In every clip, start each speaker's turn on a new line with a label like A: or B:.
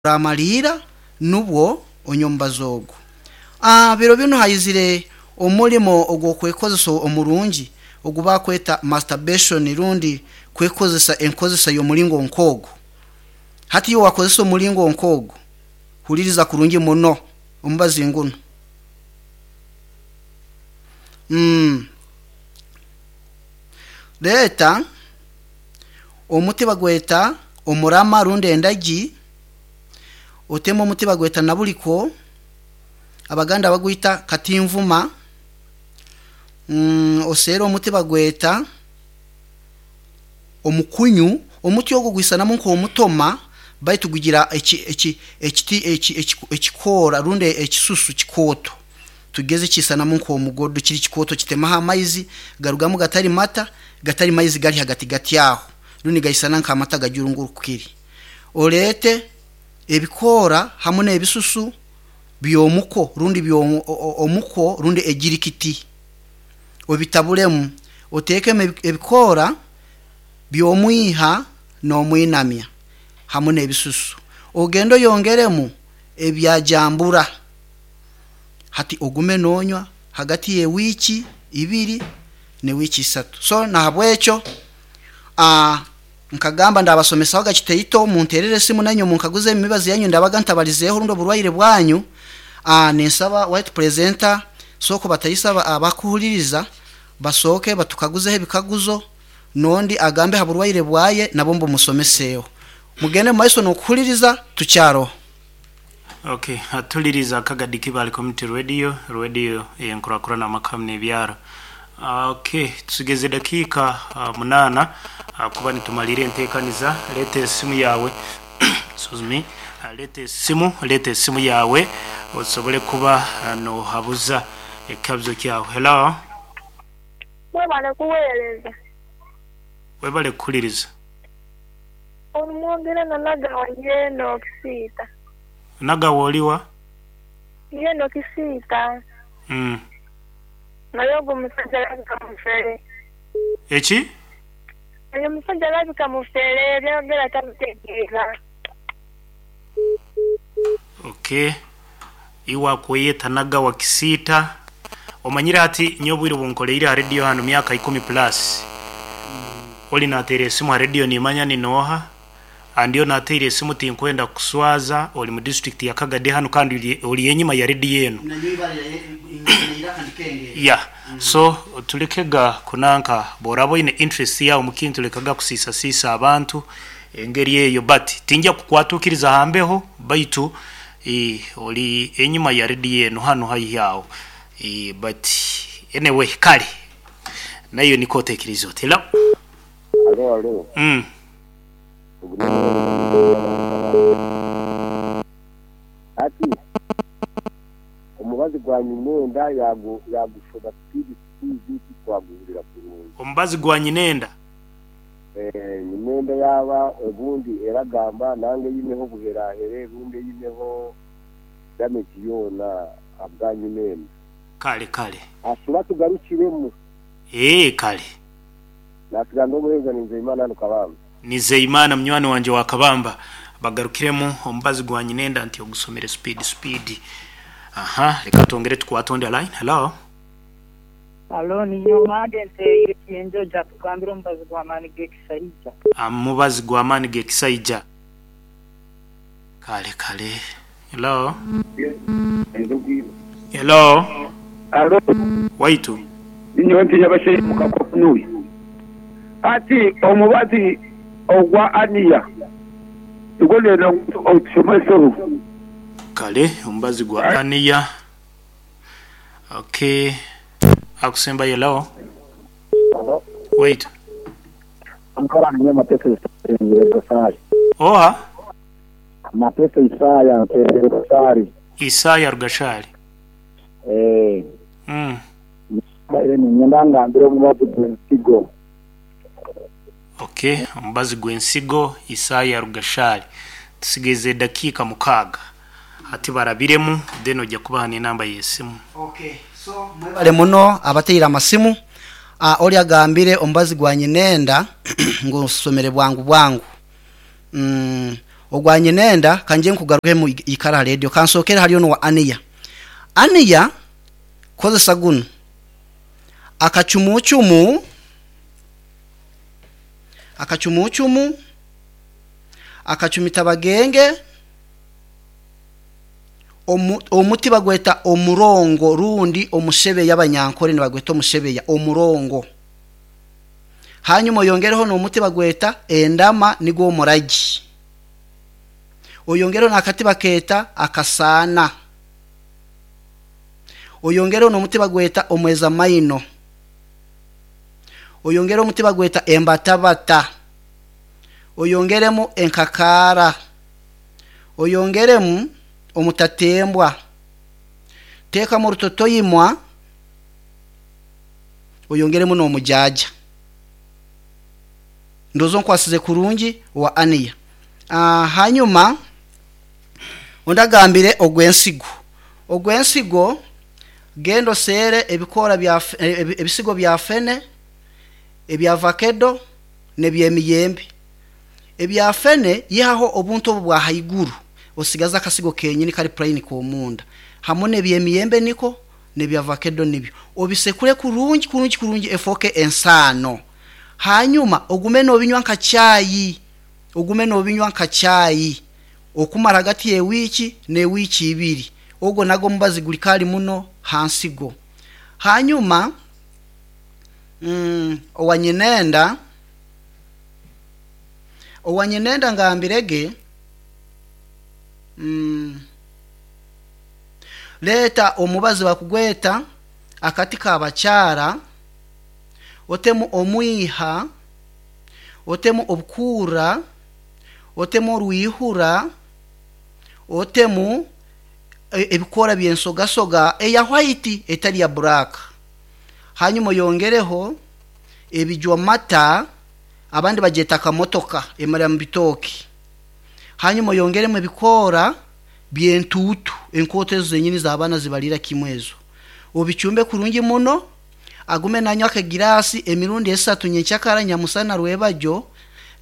A: Oramaliira nubwo onywe omubazi ogu. Biro binu haizire omulimo ogw'okwekozesa omurungi ogu bakweta masturbation rundi kwekozesa enkozesa y'omulingo nk'ogu. Hati iwe wakozesa omulingo nk'ogu, huliriza kurungi muno omubazi ngunu. Leeta omuti bagweta omurama rundi endagi, oteme omuti bagweta nabuliko, Abaganda bagwita katinvuma, oseere omuti bagweta omukunyu. Omuti ogwo gwisanamu nk'omutoma baitu gugira ekikoora rundi ekisusu kikooto. Tugeze kiisanamu nk'omugodo kiri kikooto kitemaho amaizi garugamu gatali mata, gatali maizi gali hagati aho rundi nigaisana nk'amata gajurungurukire. Oleete ebikoora hamu n'ebisusu by'omuko rundi omuko rundi ejirikiti obitabulemu, oteekemu ebikoora by'omwiha n'omwinamya hamu n'ebisusu. Ogende oyongeremu ebya jambura. Hati ogume noonywa hagati y'ewiiki ibiri n'ewiiki isatu. So nahabwekyo nkagamba ndaabasomesahoga kitaito, munteerere esimu nainywe munkaguze emibazi yanyu ndabaga ntabalizeeho rundi oburwaire bwanyu. Ninsaba White Presenter sooka obatahise abakuhuliriza basooke batukaguzeho ebikaguzo n'ondi agambe ha burwaire bwaye nabwo mbumusomeseeho. Mugende mu maiso n'okuhuliriza tukyaroho.
B: Ok, atuliriza Akagadi Kibale Community Radio, radio eyenkurakurana amaka hamu n'ebyaro. Ok, tusigeze dakiika munaana kuba nitumaliira entekaniza. Leeta esimu yaawe, excuse me, leeta esimu, leeta esimu yaawe osobole kuba nohabuza ekikabuzo kyawe. Hello?
C: Mwebale kuweereza.
B: Webale kuhuliriza.
C: Omwogera na Nagawa yeena Okisiita.
B: Nagawa oli wa?
C: Yeena Okisiita. Naye ogwo omusaja alabika mufere.
B: Eki?
C: Oyo omusaja alabika mufere byayogera tabitegeera.
B: Ok, iwe akweyeta Nagawa Kisiita, omanyire hati nyowe obwire obunkoleire ha radio hanu myaka ikumi plus, oli nateera esimu ha radio nimanya ni nooha, and onu ateire esimu tinkwenda kukuswaza, oli mu district ya Kagadi hanu kandi oli enyima ya radio enu. Yeah, so tulekega kunanka, bworaba oine interest yawe omukintu lekaga kusiisasiisa abantu engeri eyo but tingya kukwatuukiriza ha mbeho baitu oli enyima ya radio enu hanu haihi aho but anyway kale naiwe nikwo otekeriize oti. Hello.
D: Alo alo. Ogu n'omuheereza Nizeyimana Kabamba. Hati omubazi gwa nyinenda yaagushoma sipiidi sipiidi titwaguhurira kurungi.
B: Omubazi gwa nyinenda?
D: Nyinenda yaaba obundi eragamba nanga eineho obuherahere rundi eineho damage yoona ahabwa nyinenda.
B: Kale kale.
D: Ashuba atugarukiremu.
B: Eeh kale.
D: Naasiga ndi omuheereza Ninzeimana hanu Kabamba.
B: Nizeyimana munywani wangye wa Kabamba bagarukiremu omubazi gwa nyinenda nti ogusomere speed speed. Aha leka twongere tukwate ondi line. Hello.
E: Halo, ninyowe Mage ntereire Kyenjojo atugambire omubazi gw'amaani g'ekisaija.
B: Omubazi gw'amaani g'ekisaija. Kale kale. Hello. Hello.
F: Halo.
B: Waitu.
F: Ninyowe nti Nyabashaija Mukakokunui. Hati omubazi ogwa Aniya nigwo ndenda ngu otushomeseho.
B: Kale omubazi gwa Aniya. Ok. Akusembayo hello. Waitu.
G: Omukazi ninyowe Mateso Isaya ntereire Rugashari.
B: Oha?
G: Mateso Isaya ntereire Rugashari.
B: Isaya Rugashari.
G: Eeh. Mbaire niinyenda ngambire omubazi gw'ensigo.
B: Ok, omubazi gw'ensigo Isaya Rugashari. Tusigaize edakiika mukaaga. Hati barabiremu then oja kubaha n'enamba y'esimu.
A: Ok, so mwebale muno abateire amasimu. Oli agambire omubazi gwa nyinenda ngu nsomere bwangu bwangu. Ogwa nyinenda kanje nkugarukemu, ikara ha radio. Kansokere haliyo nowa Aniya. Aniya, kozesa guno akacumucumu, akacumucumu, akacumita bagenge, omuti bagweta omurongo rundi omushebeya, abanyankore nibagweta omushebeya, omurongo. Hanyuma oyongereho n'omuti bagweta endama, nigwo omuragi. Oyongereho n'akati bakeeta akasaana. Oyongereho n'omuti bagweta omweza maino. Oyongereho omuti bagweta embatabata. Oyongeremu enkakaara. Oyongeremu omutatembwa. Teekamu orutotoyimwa. Oyongeremu n'omujaja. Ndozo nkwasize kurungi wa Aniya. Hanyuma ondagambire ogwensigo. Ogwensigo, genda oseere ebikoora bya ebisigo bya fene, ebya vakedo n'ebyemiyembe. Ebya fene, yihaho obuntu obu bwa haiguru, osigaze akasigo kenyini kali plain k'omunda. Hamu n'ebyemiyembe niko, n'ebya vakedo nibyo, obisekure kurungi kurungi kurungi, efooke ensaano. Hanyuma ogume n'obinywa nka caayi, ogume n'obinywa nka caayi okumara hagati y'ewiiki n'ewiiki 2. Ogwo nago omubazi guli kali muno hansigo. Hanyuma owanyinenda, owanyinenda ngambirege, leeta omubazi bakugweta akati kabakyara, otemu omwiha, otemu obukuura, otemu orwihura, otemu ebikoora by'ensogasoga eya white etali ya black. Hanyuma oyongereho ebijwamata, abandi bagyeta kamotoka emara mu bitooki. Hanyuma oyongeremu ebikoora by'entuutu, enkooto ezo zenyini z'abaana zibaliira kimu ezo. Obicumbe kurungi muno, agume nanywa akagiraasi emirundi 3, nyenkyakara, nyamusana, rwebagyo.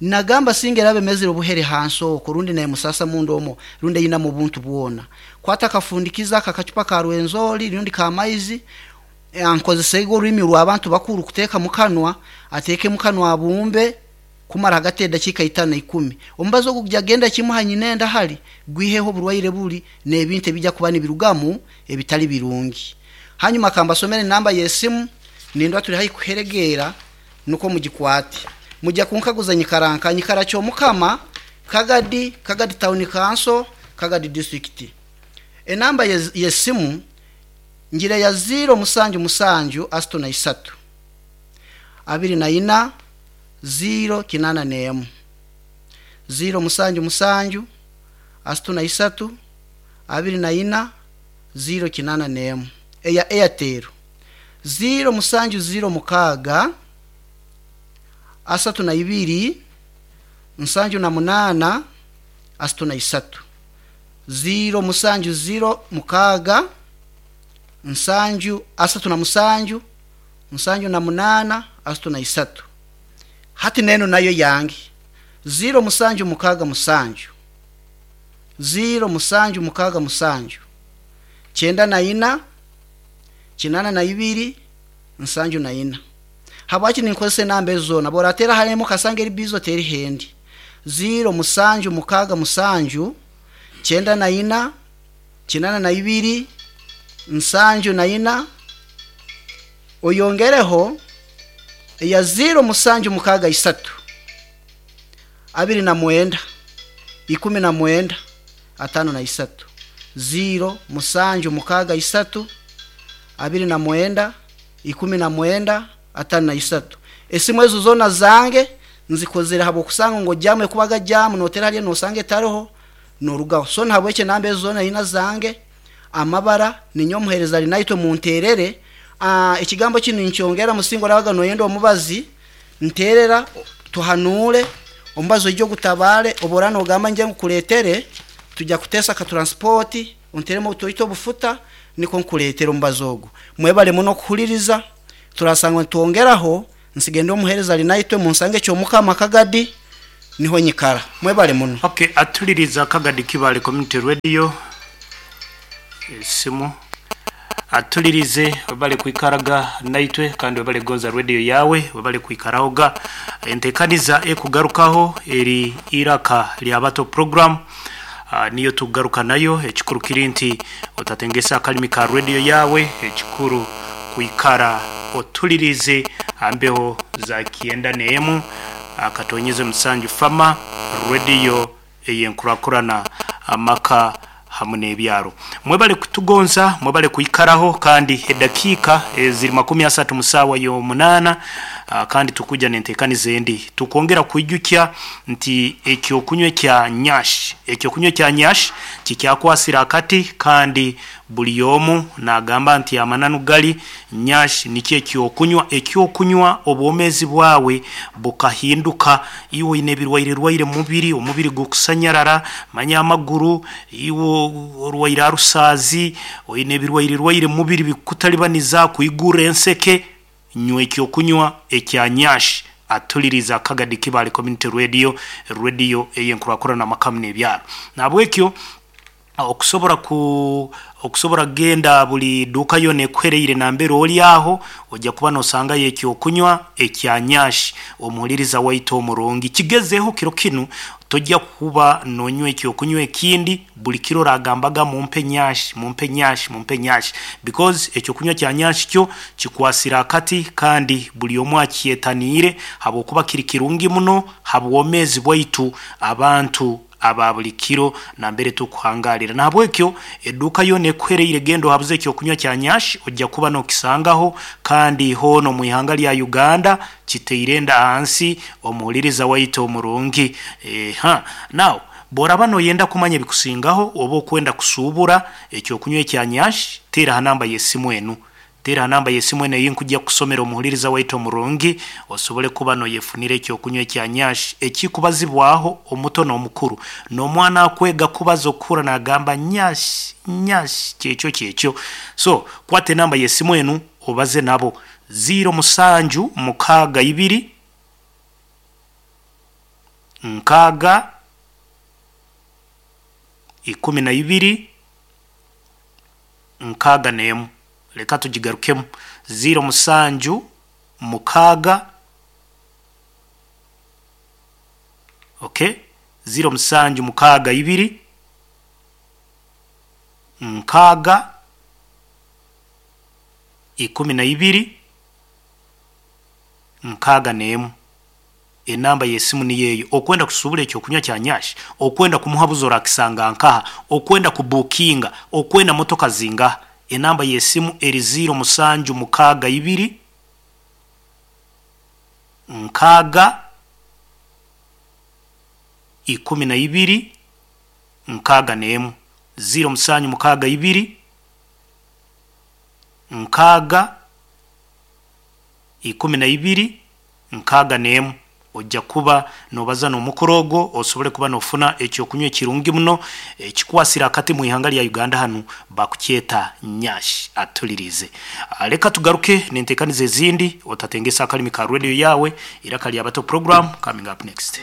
A: Nagamba singa eraba emezire obuhere hansi okwo, rundi nemusasa munda omwo, rundi eyinamu obuntu bwona, kwata akafundikiza akakacupa ka Rwenzori rundi ka maizi, nkozesege orurimi rw'abantu bakuru kuteeka mukanwa, ateeke mukanwa, abumbe kumara hagati y'edakiika 5 10. Omubazi ogu gujya genda kimu hanyinenda hali gwiheho oburwaire buli n'ebintu ebijja kuba nibirugamu ebitali birungi. Hanyuma kambasomere enamba y'esimu, nindwa tuli haihi kuheregeera, nukwo mugikwate. Mujja kunkaguza nyikara nka nyikara Kyomukama, Kagadi, Kagadi Town Council, Kagadi District. Enamba y'esimu ngira ya 077 33 24 081, 077 33 24 081. Eya Airtel 0706 32 78 33, 0706 7 37 78 33. Hati neno nayo yange 0767, 0767 94 82 74. Habwaki ninkozesa enamba ezo zoona? Boratera haremu kasanga eri bizo teri hendi. 0767 94 82 74. Oyongereho ya 0763 29 19 53, 0763 29 19 53. Esimu ezo zoona zange nzikozere habwokusanga ngu jamu ekubaga jamu, notera haliyo nosanga etaroho, norugaho. So nahabwekyo enamba ezo zoona ina zange amabara, ninyowe omuheereza ali naitwe munterere. Ekigambo kinu ninkyongera, musinga orabaga noyenda omubazi, nterera tuhanuure omubazi oije ogutabare. Obu oraba nogamba nje nkukuleetere, tujja kuteesa ka transport, onteremu obutoito obufuta, niko nkuleetere omubazi ogu. Mwebale muno okuhuliriza, turasanga nitwongeraho. Nsigende omuheereza ali naitwe, munsange Kyomukama, Kagadi. Niho nyikara. Mwebale muno.
B: Okay, atuliriza Kagadi Kibale Community Radio esimu atulirize webale kwikaraga naitwe kandi webale gonza radio yawe, webale kwikarahoga. Entekaniza ekugarukaho eri Iraka Lyabato program. Niyo tugaruka nayo. Ekikuru kiri nti otatengesa akalimi ka radio yawe, ekikuru kwikara otulirize ambeho za kienda neemu akatonyeze musanju fama radio eyenkurakurana amaka hamwe n'ebyaro. Mwebale kutugonza, mwebale kuikaraho, kandi edakiika ziri 30 musawa y'omunaana. Kandi tukuja nentekaniza endi tukongera kwijukya nti ekyokunywa kya nyash, ekyokunywa kya nyash kikyakwasira akati, kandi buli omu nagamba nti amananu gali nyash nikyo ekyokunywa, ekyokunywa obwomezi bwawe bukahinduka. Iwe oyine ebirwaire rwaire mubiri, omubiri gukusanyarara, manya amaguru, iwe orwaire arusazi, oyine ebirwaire rwaire mubiri bikutalibaniza kuigura enseke, nywa ekyokunywa ekya nyash. Atuliriza Kagadi Kibale Community Radio, radio eyenkurakurana amakamu n'ebyaro. Nabwekyo okusobora kugenda buli duka yona ekuhereire nambere oli aho, ojja kuba nosangayo ekyokunywa ekya nyash. Omuhuliriza waitu omurungi, kigezeho kiro kinu, tojja kuba nonywa ekyokunywa ekindi. Buli kiro oragambaga mumpe nyash, mumpe nyash, mumpe nyash, because ekyokunywa kya nyash kyo kikwasira akati, kandi buli omu akyetaniire habwokuba kiri kirungi muno habwomezi bwaitu abantu aba buli kiro nambere tukuhangalira. Nahabwekyo eduka yona ekuhereire gendo habuze ekyokunywa kya nyash, ojja kuba nokisangaho. Kandi hono mu ihanga lya Uganda kiteire nda hansi omuhuliriza waitu omurungi. Now boraba noyenda kumanya ebikusingaho oba okwenda kusuubura ekyokunywa ekya nyash, teera ha namba y'esimu enu, teera ha namba y'esimu enu eyinkujja kusomera omuhuliriza waitu omurungi, osobole kuba noyefunira ekyokunywa ekya nyash ekikubazibwaho omuto n'omukuru n'omwana akwega kubaza okukura nagamba nyash, nyash, kyekyo kyekyo. So kwata enamba y'esimu enu obaze nabo 0762 6 12 61. Leka tugigarukemu 076. Okay, 0762 6 12 61. Enamba y'esimu niyeyo. Okwenda kusubula ekyokunywa kya nyash, okwenda kumuhabuza orakisanga nkaha, okwenda kubukinga, okwenda motoka zingaha, enamba y'esimu eri 0762 6 12 61. 0762 6 12 61. Ojja kuba nobaza n'omukoro ogwo osobole kuba nofuna ekyokunywa ekirungi muno ekikwasira akati mu ihanga lya Uganda hanu bakukyeta nyash. Atulirize. Leka tugaruke nentekaniza ezindi, otatengesa akalimi ka radio yawe. Iraka Lyabato program coming up next.